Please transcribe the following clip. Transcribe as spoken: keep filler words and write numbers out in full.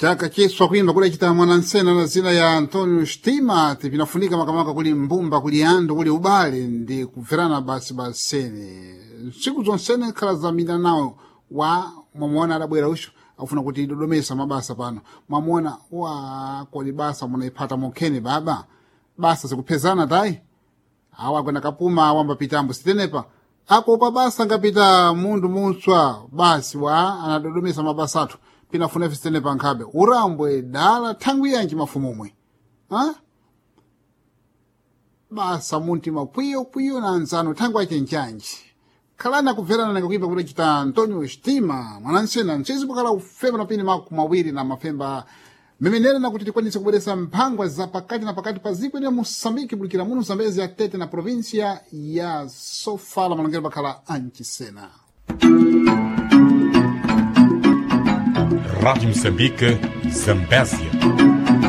Chaka chiswa kuimba kudacita mwanansena na zina ya Antonio Stima pinafunika makamaka kuli mbumba kuli andu kuli ubale ndi kubverana basi basene ntsiku zonsene khala zamira nawo wa mwamuona adabwera ucho akufuna kuti idodomesa mabasa pano mwamuona wa kodi basa munayiphata mokhene baba basa zikuphezana tayi awa akwenda kapuma awamba pitambo sitenepa akopa basa ngapita mundu mutswa basi wa anadodomesa mabasa athu pinafuna ife sitenepa nkhabe urambwe dala thangwi yanji mafumumwe ha? Basa muntima kwiyo kwiyo na anzano thangwi achenjanji khalani akubverana nanga kuimba kuti chita Antonio Stima mwanansena mchezi bukala ufemba na pini maku mawiri na mafemba memenera na kuti tikwanise kubweresa mphangwa za pakati na pakati pa ziko ya Moçambique bulikira muno Zambezi ya Tete na província ya Sofala malongero bakhala ancisena. Rádio Moçambique, Zambésia.